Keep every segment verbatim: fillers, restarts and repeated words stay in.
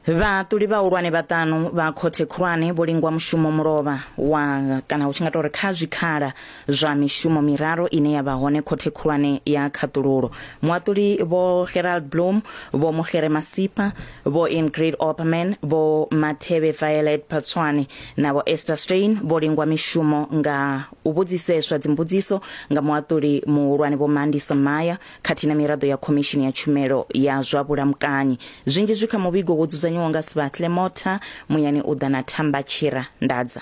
Vhaṱuli vhahulwane vhaṱanu vha khothe khulwane vho lingwa mushumo mulovha wa kana hu tshi nga tou ri kha zwikhala zwa mishumo miraru ine ya vha hone khothe khulwane ya khaṱululo. Muhaṱuli Vho Gerald Bloom, Vho Mokgere Masipa, Vho Ingrid Opperman, Vho Mathebe Violet Phatswane na Vho Esther Steyn vho lingwa mishumo nga u vhudziseswa dzimbudziso nga muhaṱuli muhulwane Vho Mandisa Maya khathihi na miraḓo ya khomishini ya tshumelo ya zwa vhulamukanyi. Zwinzhi zwi kha muvhigo wo dzudzanywaho nga Sibahle Motha muyani u ḓa na Thamba Tshira Ndadza.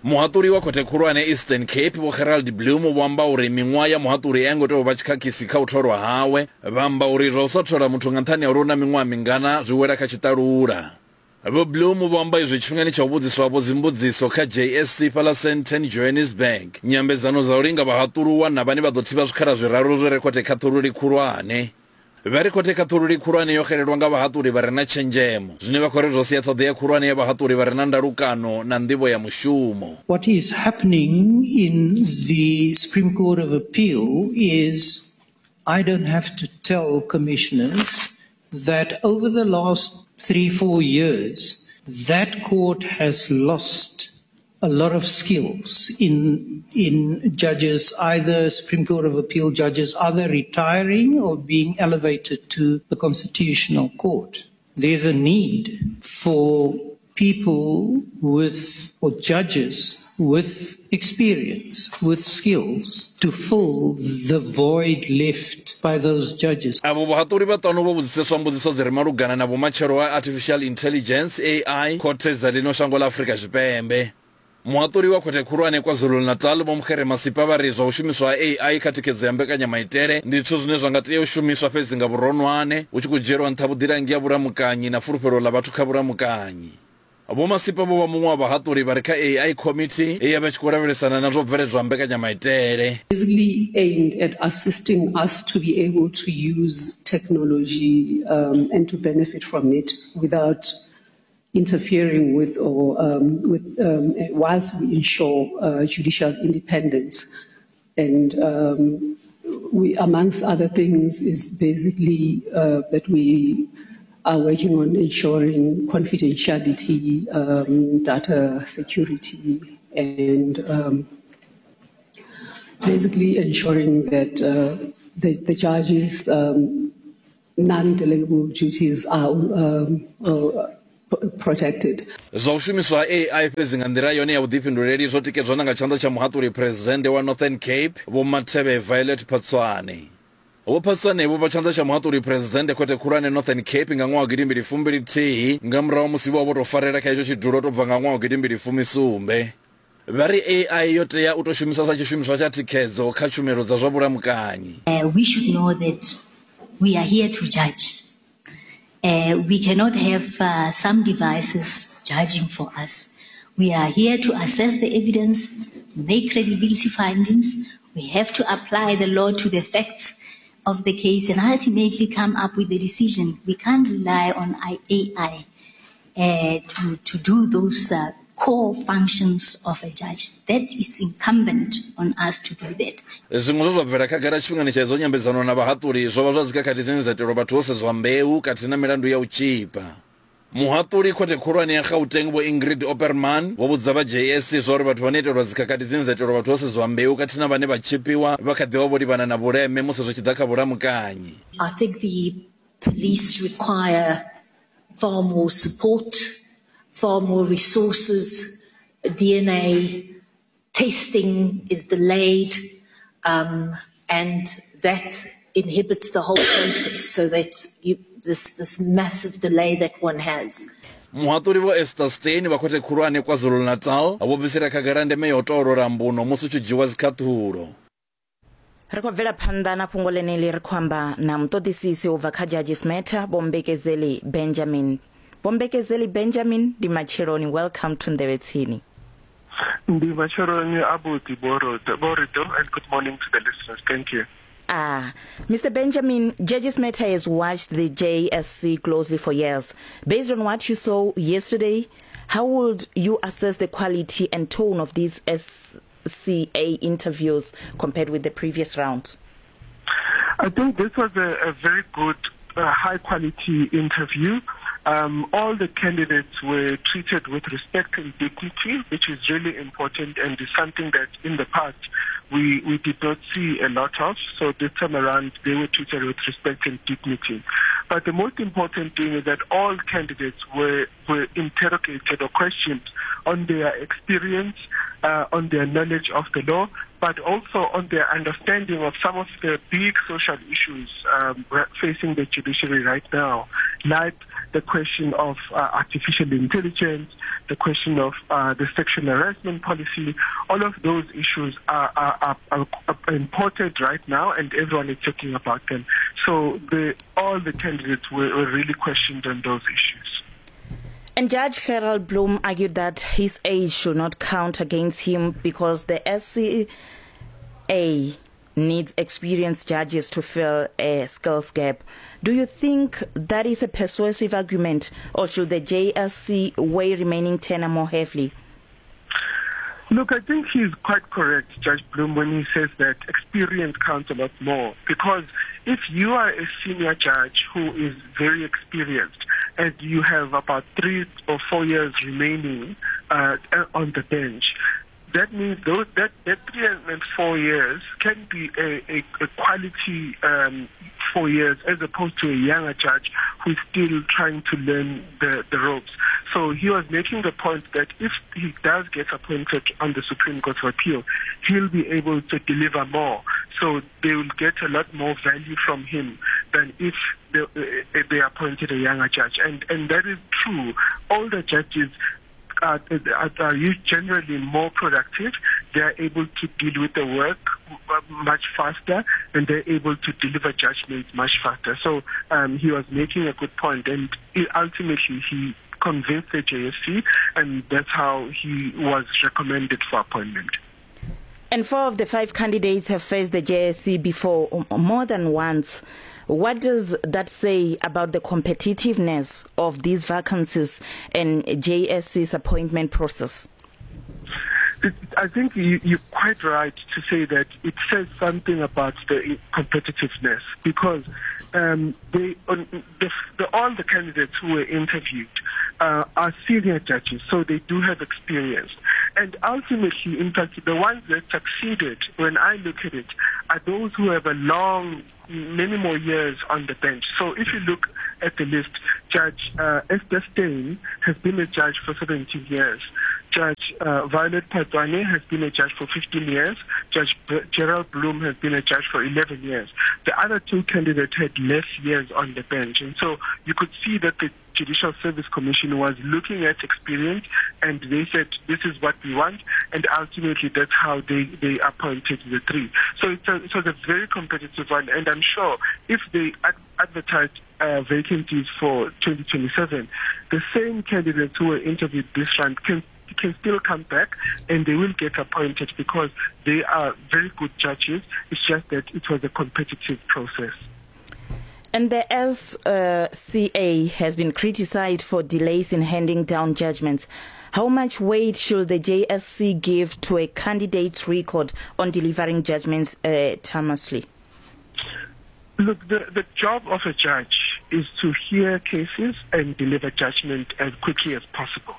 Muhaṱuli wa khothe khulwane Eastern Cape Vho Gerald Bloom vho amba uri miṅwaha ya muhaṱuli a ngo tea u vha tshikhakisi kha u tholwa hawe. Vha amba uri zwa u sa thola muthu nga nṱhani ha uri u na miṅwaha mingana zwi wela kha tshiṱalula. Vho Bloom vho amba izwi tshifhingani tsha u vhudziswa vho dzimbudziso kha J S C fhaḽa Sandton, Johannesburg. Nyambedzano dza u linga vhahaṱuluwa na vhane vha ḓo thivha zwikhala zwiraru zwi re khothe khaṱhululi khulwane. Vha ri khothe khaṱhululi khulwane yo xelelwa nga vhahaṱuli vha re na tshenzhemo, zwine vha khou ri zwo sia ṱhoḓea khulwane ya vhahaṱuli vha re na ndalukano na nḓivho ya mushumo. What is happening in the Supreme Court of Appeal is I don't have to tell commissioners that over the last three, four years, that court has lost a lot of skills in, in judges, either Supreme Court of Appeal judges, either retiring or being elevated to the Constitutional Court. There's a need for people with, or judges with experience, with skills, to fill the void left by those judges. Avho vhahaṱuli vhaṱanu vho vhudziseswa mbudziso dzi re malugana na vhumatshelo ha Artificial Intelligence A I khothe dza ḽino shango ḽa Afrika Tshipembe. Muhaṱuli wa khothe khulwane KwaZulu-Natal Vho Mokgere Masipa vha ri zwa u shumiswa ha A I kha thikhedzo ya mbekanyamaitele ndi zwithu zwine zwa nga tea u shumiswa fhedzi nga vhuronwane, hu tshi khou dzhielwa nṱha vhuḓilangi ha vhulamukanyi na fulufhelo ḽa vhathu kha vhulamukanyi. Vho Masipa vho vha muṅwe wa vhahaṱuli vha re kha A I committee ye ya vha tshi khou lavhelesana na zwo bveledzwa mbekanyamaitele. Basically aimed at assisting us to be able to use technology um, and to benefit from it without interfering with or um, with um, whilst we ensure uh, judicial independence. And um, we, amongst other things, is basically uh, that we are working on ensuring confidentiality, um, data security, and um, basically ensuring that uh, the, the judges' um, non-delegable duties are um, uh, protected. Zwa u shumiswa A I fhedzi nga nḓila yone ya vhuḓifhinduleli zwo tikedzwa na nga tshanḓa tsha muhaṱuli Presidennde wa Northern Cape Vho Mathebe Violet Phatswane. Vho Phatswane vho vha tshanḓa tsha muhaṱuli Presidennde khothe khulwane Northern Cape nga ṅwaha wa gidi mbili fumbili thihi nga murahu musi vho vho tou farela kha itsho tshidulo to bva nga ṅwaha wa gidi mbili fumi sumbe. Vha ri A I yo tea u tou shumiswa sa tshishumiswa tsha thikhedzo kha tshumelo dza zwa vhulamukanyi. Uh, we should know that we are here to judge. Uh, we cannot have uh, some devices judging for us. We are here to assess the evidence, make credibility findings. We have to apply the law to the facts of the case and ultimately come up with a decision. We can't rely on A I uh, to, to do those uh, core functions of a judge. That is incumbent on us to do that. Zwiṅwe zwe zwa bvela khagala tshifhingani tsha idzo nyambedzano na vhahaṱuli zwo vha zwa dzikhakhathi dzine dza itelwa vhathu ho sedzwa mbeu khathihi na milandu ya u tzhipa. Muhaṱuli khothe khulwane ya Gauteng Vho Ingrid Opperman vho vhudza vha J S C zwa uri vhathu vhane itelwa dzikhakhathi dzine dza itelwa vhathu ho sedzwa mbeu khathihi na vhane vha tzhipiwa vha kha ḓi vha vho livhana na vhuleme musi zwi tshi ḓa kha vhulamukanyi. I think the police require far more support, far more resources. D N A testing is delayed, um, and that inhibits the whole process, so that you, this, this massive delay that one has. Muhaṱuli Vho Esther Steyn vha khothe khulwane KwaZulu-Natal vho bvisela khagala ndeme ya u toolola mbuno musi hu tshi dzhiwa dzikhaṱhulo. Ri khou bvela phanḓa na fhungo ḽeneḽi, ri khou amba na muṱoḓisisi u bva kha Judges Matter Vho Mbekezeli Benjamin. Vho Mbekezeli Benjamin, ndi matsheloni, welcome to Nḓevhe Tsini. Ndi matsheloni abuti Borito, and good morning to the listeners. Thank you. Ah, Mister Benjamin, Judges Matter has watched the J S C closely for years. Based on what you saw yesterday, how would you assess the quality and tone of these S C A interviews compared with the previous round? I think this was a, a very good, uh, high-quality interview. Um, all the candidates were treated with respect and dignity, which is really important and is something that in the past we, we did not see a lot of. So this time around, they were treated with respect and dignity. But the most important thing is that all candidates were, were interrogated or questioned on their experience, uh, on their knowledge of the law, but also on their understanding of some of the big social issues um, facing the judiciary right now, like the question of uh, artificial intelligence, the question of uh, the sexual harassment policy. All of those issues are, are, are, are important right now, and everyone is talking about them. So the, all the candidates were, were really questioned on those issues. And Judge Gerald Bloom argued that his age should not count against him because the S C A needs experienced judges to fill a skills gap. Do you think that is a persuasive argument, or should the J S C weigh remaining tenure more heavily? Look, I think he's quite correct, Judge Bloom, when he says that experience counts a lot more. Because if you are a senior judge who is very experienced and you have about three or four years remaining uh, on the bench, that means those, that, that three and four years can be a, a, a quality um, four years as opposed to a younger judge who's still trying to learn the, the ropes. So he was making the point that if he does get appointed on the Supreme Court of Appeal, he'll be able to deliver more. So they will get a lot more value from him than if they, they appointed a younger judge. And, and that is true. Older judges are, are, are generally more productive. They are able to deal with the work much faster, and they're able to deliver judgments much faster. So um, he was making a good point, and ultimately he convinced the J S C, and that's how he was recommended for appointment. And four of the five candidates have faced the J S C before more than once. What does that say about the competitiveness of these vacancies and J S C's appointment process? It, I think you, you're quite right to say that it says something about the competitiveness, because um, they, on, the, the, all the candidates who were interviewed uh, are senior judges, so they do have experience. And ultimately, in fact, the ones that succeeded, when I look at it, are those who have a long, many more years on the bench. So if you look at the list, Judge uh, Esther Steyn has been a judge for seventeen years. Judge uh, Violet Phatswane has been a judge for fifteen years. Judge B- Gerald Bloom has been a judge for eleven years. The other two candidates had less years on the bench. And so you could see that the Judicial Service Commission was looking at experience, and they said, this is what we want, and ultimately that's how they, they appointed the three. So it's a, it was a very competitive one, and I'm sure if they ad- advertised uh, vacancies for twenty twenty-seven, the same candidates who were interviewed this round can can still come back, and they will get appointed because they are very good judges. It's just that it was a competitive process. And the S C A has been criticized for delays in handing down judgments. How much weight should the J S C give to a candidate's record on delivering judgments uh, timeously? Look, the, the job of a judge is to hear cases and deliver judgment as quickly as possible.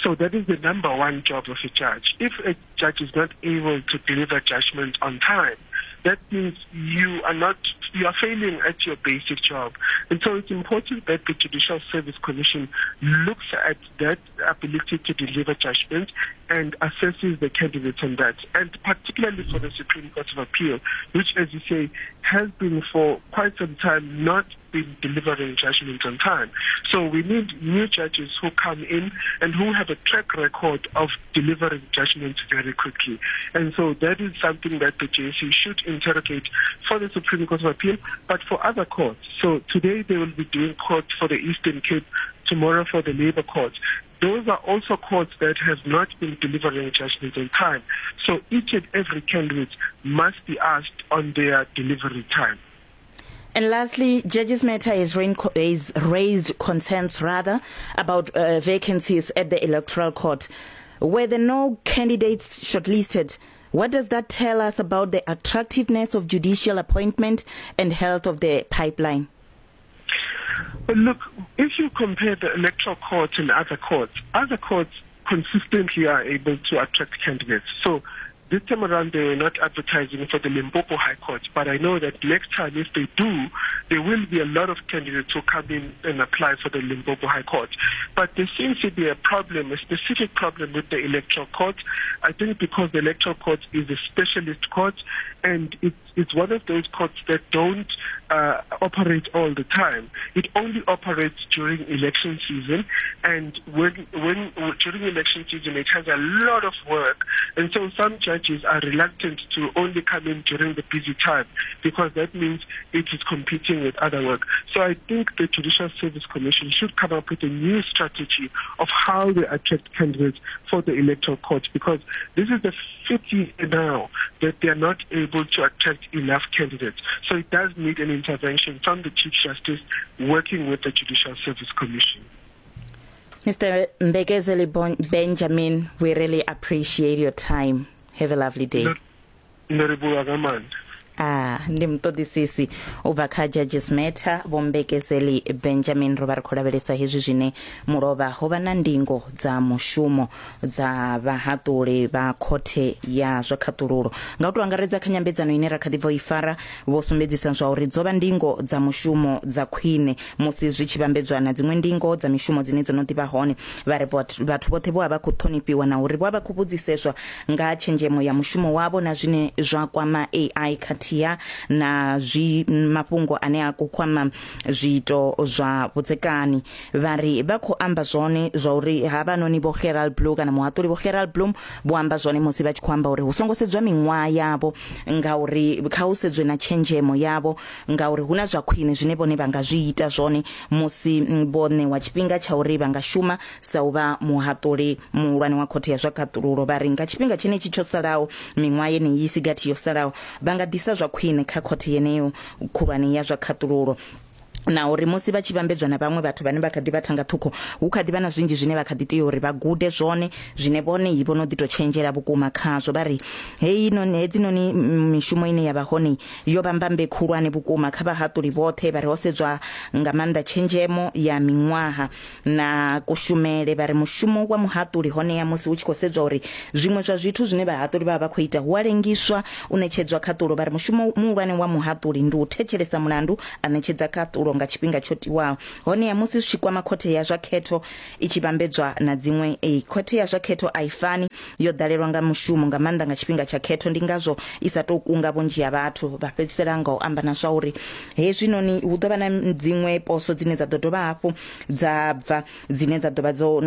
So that is the number one job of a judge. If a judge is not able to deliver judgment on time, that means you are not, you are failing at your basic job. And so it's important that the Judicial Service Commission looks at that ability to deliver judgment and assesses the candidates on that. And particularly for the Supreme Court of Appeal, which, as you say, has been for quite some time not been delivering judgment on time. So we need new judges who come in and who have a track record of delivering judgments very quickly. And so that is something that the J S C should interrogate for the Supreme Court of Appeal, but for other courts. So today they will be doing court for the Eastern Cape, tomorrow for the Labour Court. Those are also courts that have not been delivering judgments on time. So each and every candidate must be asked on their delivery time. And lastly, Judges Matter has raised concerns rather about uh, vacancies at the Electoral Court. Were there no candidates shortlisted, what does that tell us about the attractiveness of judicial appointment and health of the pipeline? Look, if you compare the electoral courts and other courts, other courts consistently are able to attract candidates. So this time around, they were not advertising for the Limpopo High Court, but I know that next time, if they do, there will be a lot of candidates who come in and apply for the Limpopo High Court. But there seems to be a problem, a specific problem with the electoral court. I think because the electoral court is a specialist court, and it, it's one of those courts that don't uh, operate all the time. It only operates during election season, and when, when during election season, it has a lot of work. And so some judges are reluctant to only come in during the busy time, because that means it is competing with other work. So I think the Judicial Service Commission should come up with a new strategy of how they attract candidates for the electoral court, because this is the fifth year now that they are not able to attract enough candidates. So it does need an intervention from the Chief Justice working with the Judicial Service Commission. Mister Mbekezeli Benjamin, we really appreciate your time. Have a lovely day. Ah, ndi muṱoḓisisi u bva kha Judges Matter Vho Mbekezeli Benjamin. Ro vha ri khou lavhelesa hezwi zwine mulovha ho vha na ndingo dza mushumo dza vhahaṱuli vha khothe ya zwa khaṱululo. Nga u tou angaredza kha nyambedzano ine ra kha ḓi bva u i fara, vho sumbedzisa zwa uri dzo vha ndingo dza mushumo dza khwine musi zwi tshi vhambedzwa na dziṅwe ndingo dza mishumo dzine dzo no ḓi vha hone. Vha ri vhathu vhoṱhe vho vha vha khou ṱhonifhiwa na uri vho vha vha khou vhudziseswa nga tshenzhemo ya mushumo wavho na zwine zwa kwama A I khathihi na zwi mafhungo ane a ku kwama zwiito zwa vhudzekani. Vha ri vha khou amba zwone zwa uri havhanoni vho Gerald Blum kana muhaṱuli vho Gerald Blum vho amba zwone musi vha tshi khou amba uri hu songo sedzwa miṅwaha yavho, ngauri kha hu sedzwe na tshenzhemo yavho, ngauri hu na zwa khwine zwine vhone vha nga zwi ita zwone musi vho ṋewa tshifhinga tsha uri vha nga shuma sa u vha muhaṱuli muhulwane wa khothe ya zwa khaṱululo. Vha ri nga tshifhinga tshenetshi tsho salaho, miṅwaha yeneyi i si gathi yo salaho, vha nga ḓisa zwa khwine kha khothe yeneyo khulwane ya zwa khaṱululo, na uri musi vha tshi vhambedzwa na vhaṅwe vhathu vhane vha kha ḓi vha thanga ṱhukhu, hu kha ḓi vha na zwinzhi zwine vha kha ḓi tea uri vha gude zwone, zwine vhone vho no ḓi tou tshenzhela vhukuma khazwo. Vha ri heyi noni hedzinoni mishumo ine ya vha hone yo vha mbambe khulwane vhukuma kha vhahaṱuli vhoṱhe. Vha ri ho sedzwa nga maanḓa tshenzhemo ya miṅwaha na kushumele. Vha ri mushumo wa muhaṱuli honea musi hu tshi khou sedzwa uri zwiṅwe zwa zwithu zwine vhahaṱuli vha vha khou ita hu a lengiswa u ṋetshedzwa khaṱulo. Vha ri mushumo muhulwane wa muhaṱuli ndi u thetshelesa mulandu a ṋetshedza khaṱulo nga tshifhinga tsho tiwaho. Honeha musi zwi tshi kwama khothe ya zwa khetho i tshi vhambedzwa na dziṅwe, e khothe ya zwa khetho a i fani, yo ḓalelwa nga mushumo nga maanḓa nga tshifhinga tsha khetho, ndi ngazwo i sa tou kunga vhunzhi ha vhathu. Vha fhedzisela nga u amba na zwa uri hezwinoni hu ḓo vha na dziṅwe poso dzine dza ḓo dovha hafhu dza bva dzine dza ḓo vha dzo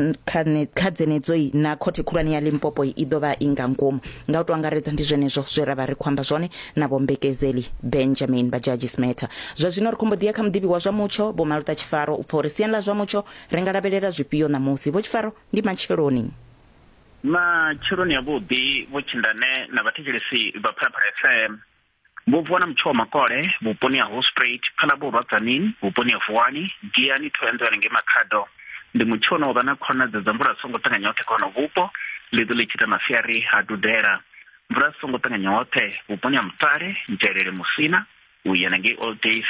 kha dzenedzo na khothe khulwane ya Limpopo i ḓo vha i nga ngomu. Nga u tou angaredza ndi zwenezwo zwe ra vha ri khou amba zwone na Vho Mbekezeli Benjamin vha Judges Matter. Zwa zwino ri khou mbo ḓi ya kha muḓivhi wa zwa mutsho Vho Maluta Tshifaro u pfa uri siani ḽa zwa mutsho ri nga lavhelela zwifhio ṋamusi. Vho Tshifaro, ndi matsheloni. Matsheloni avhuḓi Vho Tshindane na vhathetshelesi vha Phalaphala F M. Vho vuwa na mutsho wa makole vhuponi ha Hospruit, Phalaborwa Tzaneen, vhuponi ha Vuwani, Giyani, Thohoyandou ngei Makhado. Ndi mutsho une wa vha na khonadzeo dza mvula songo ṱanganya hoṱhe kha hono vhupo, ḽi ḓo ḽi tshi ita masiari ha dudela. Mvula songo ṱanganya hoṱhe vhuponi ha Mutale, Nzhelele, Musina, u ya ngei Old Days.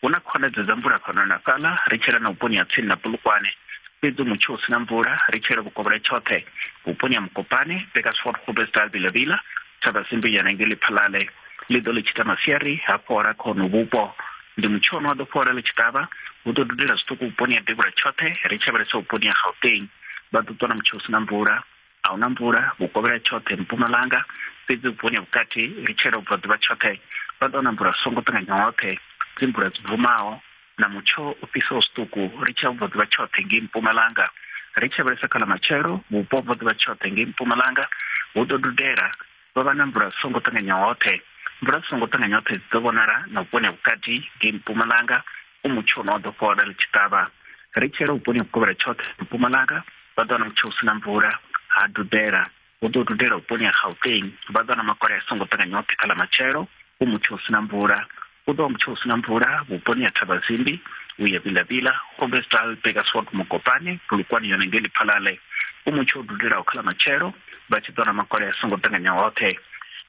Hu na khonadzeo dza mvula fhano na fhaḽa, ri tshela na vhuponi ha tsini na Polokwane. Fhedzi mutsho u si na mvula ri tshela vhukovhela tshoṱhe vhuponi ha Mokopane, Bakersford, Groblersdal, Vilavila, Thabazimbi ya ngei Lephalale. Ḽi ḓo ḽi tshi ita masiari ha fhola kha hono vhupo. Ndi mutsho une wa ḓo fhola ḽi tshi ṱavha, hu ḓo dudela zwiṱuku vhuponi ha devhula tshoṱhe, ri tshi lavhelesa vhuponi ha Gauteng. Vha ḓo ṱwa na mutsho u si na mvula, a hu na mvula vhukovhela tshoṱhe Mpumalanga, fhedzi vhuponi ha vhukati ri tshela vhubvaḓuvha tshoṱhe vha ḓo wana mvula songo ṱanganya hoṱhe, dzi mvula dzi bvumaho na mutsho u fhisaho zwiṱuku ri tshi ya vhubvaḓuvha tshoṱhe ngei Mpumalanga. Ri tshi lavhelesa kha ḽa matshelo vhupo vhubvaḓuvha tshoṱhe ngei Mpumalanga hu ḓo dudela, vha vha na mvula songo ṱanganya hoṱhe. Mvula songo ṱanganya hoṱhe dzi ḓo vhonala na vhuponi ha vhukati ngei Mpumalanga, u mutsho une wa ḓo fhola ḽi tshi ṱavha. Ri tshela vhuponi ha vhukovhela tshoṱhe Mpumalanga vha ḓo wana mutsho u si na mvula ha dudela, hu ḓo dudela vhuponi ha Gauteng vha ḓo wana makole a songo ṱanganya hoṱhe kha ḽa matshelo, u mutsho u si na mvula. Hu ḓo vha mutsho u si na mvula vhuponi ha Thabazimbi, u ya Vilavila, Groblersdal, Bakersford, Mokopane, Polokwane yone ngei Lephalale. U mutsho u dudelaho kha ḽa matshelo vha tshi ḓo wana makole a songo ṱanganya hoṱhe.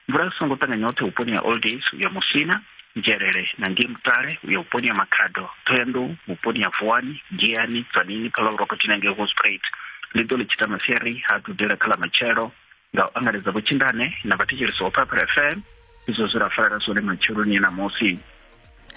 Mvula songo ṱanganya hoṱhe vhuponi ha Old Days u ya Musina, Nzhelele na ngei Mutale uya vhuponi ha Makhado, Thohoyandou vhuponi ha Vuwani, Giyani, Tzaneen, Phalaborwa khathihi na ngei Hoedspruit. Ḽi ḓo ḽi tshi ita masiari ha dudela kha ḽa matshelo. Nga u angaredza vhotshindane na vhathetshelesi wa Phalaphala F M, izwo zwi ra farela zwone matsheloni ṋamusi.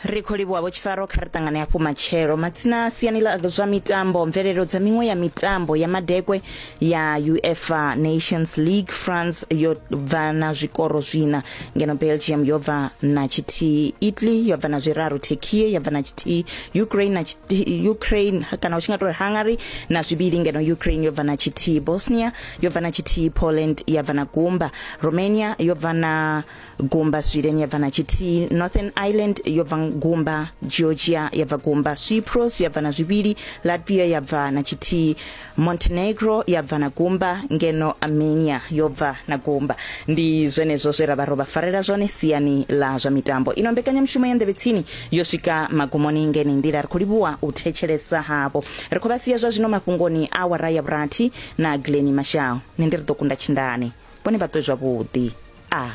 Ri khou livhuwa Vho Tshifaro, kha ri ṱangane hafhu matshelo. Matsina siani ḽa zwa mitambo, mvelelo dza miṅwe ya mitambo ya madekwe ya UEFA Nations League, France yo bva na zwikoro zwina, ngeno Belgium yo bva na tshithihi, Italy yo bva na zwiraru, Turkey ya bva na tshithihi, Ukraine na tshithihi, Ukraine kana u tshi nga tou ri Hungary na zwivhili, ngeno Ukraine yo bva na tshithihi, Bosnia yo bva na tshithihi, Poland ya bva na gumba, Romania yo bva na gumba, Sweden ya bva na tshithihi, Northern Ireland yo bva gumba, Georgia ya bva gumba, Cyprus ya bva na zwivhili, Latvia ya bva na tshithihi, Montenegro ya bva na gumba, ngeno Armenia yo bva na gumba. Ndi zwenezwo zwe ra vha ro vha farela zwone siani ḽa zwa mitambo. Ino mbekanyamushumo ya Nḓevhe Tsini yo swika magumoni ngeni nḓila. Ri khou livhuwa u thetshelesa havho. Ri khou vha sia zwa zwino mafhungoni awara ya vhurathi na Glenny Mashao. Nṋe ndi ri ḓo kunda tshindane, vhone vha ṱwe zwavhuḓi. A.